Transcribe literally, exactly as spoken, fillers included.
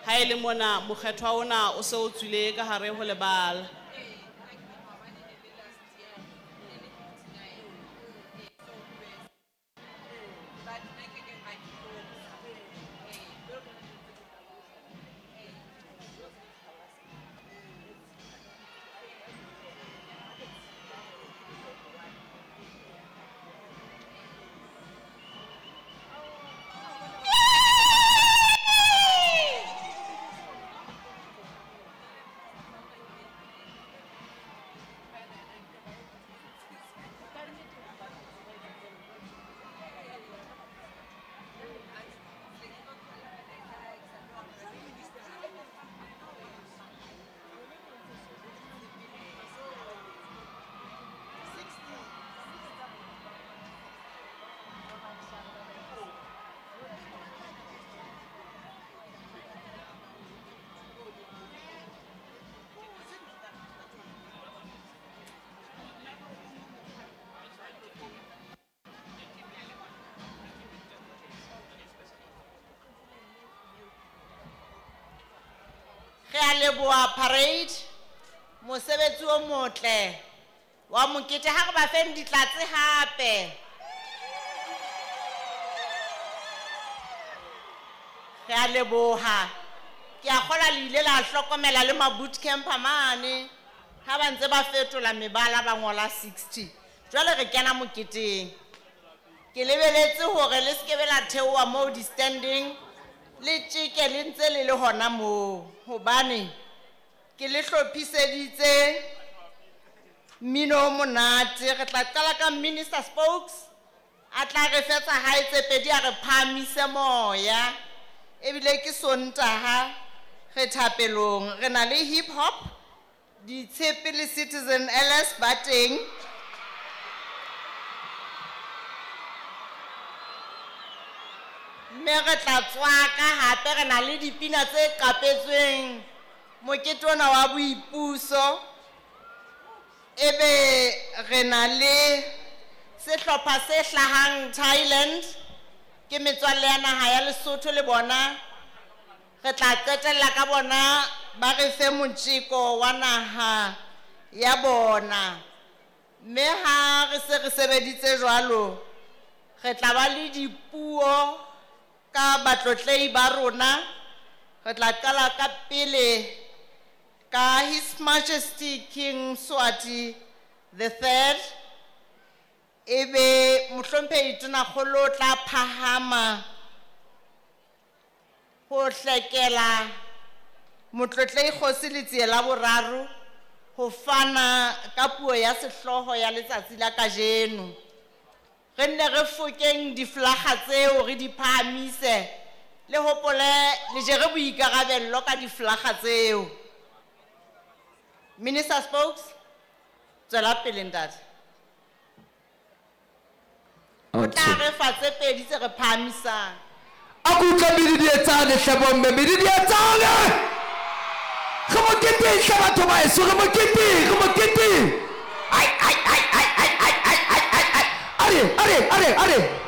Ha e le mona mokgethwa ona o se o tswile ka hare ho lebala. Re a leboha parade, mosebetsi o motle wa mokete. Ha re ba feng ditlatse hape. Re a leboha. Ke a kgolwa le ile la hlokomela le ma boot camper mane ha ba ntse ba fetola mebala ba ngola sixty. Jwale re kena moketeng. Ke lebeletse hore le se ke be la theoha moo di-standing, le tjeke le ntse le le hona moo, hobane ke le hlophiseditse mmino o monate. Re tla qala ka Minister Spokes, a tla re fetsa hae tse pedi, a re phahamise moya. Ebile ke Sontaha, re thapelong, re na le hip hop, Ditshepe le Citizen L S ba teng. Mme re tla tswaka hape, re na le dipina tse qapetsweng mokete ona wa boipuso. Ebe re na le sehlopha se hlahang Thailand, ke metswalle ya naha ya Lesotho le bona. Re tla qetella ka bona ba re fe motjeko wa naha ya bona. Mme ha re se re sebeditse jwalo, re tla ba le dipuo ka batlotlehi ba rona. Re tla qala ka pele ka His Majesty King Mswati the Third. Ebe mohlomphehi Tonakgolo o tla phahama ho hlekela motlotlehi Kgosi Letsie la boraro ho fana ka puo ya sehlooho ya letsatsi la kajeno. Re nne re fokeng diflakga tseo, re di phahamise, le hopole le jere boikarabello ka diflakga tseo. Minister Spokes, tswela pele ntate. O tla re fa tse pedi tse re phahamisang. A ko utlwe medidietsane hle bomme, medidietsane! Re moketeng hle batho ba heso, re moketeng, re moketeng! Ai, ai, ai, ai, ai, ai, ai, ai, ai, ai. Are, are, are, are.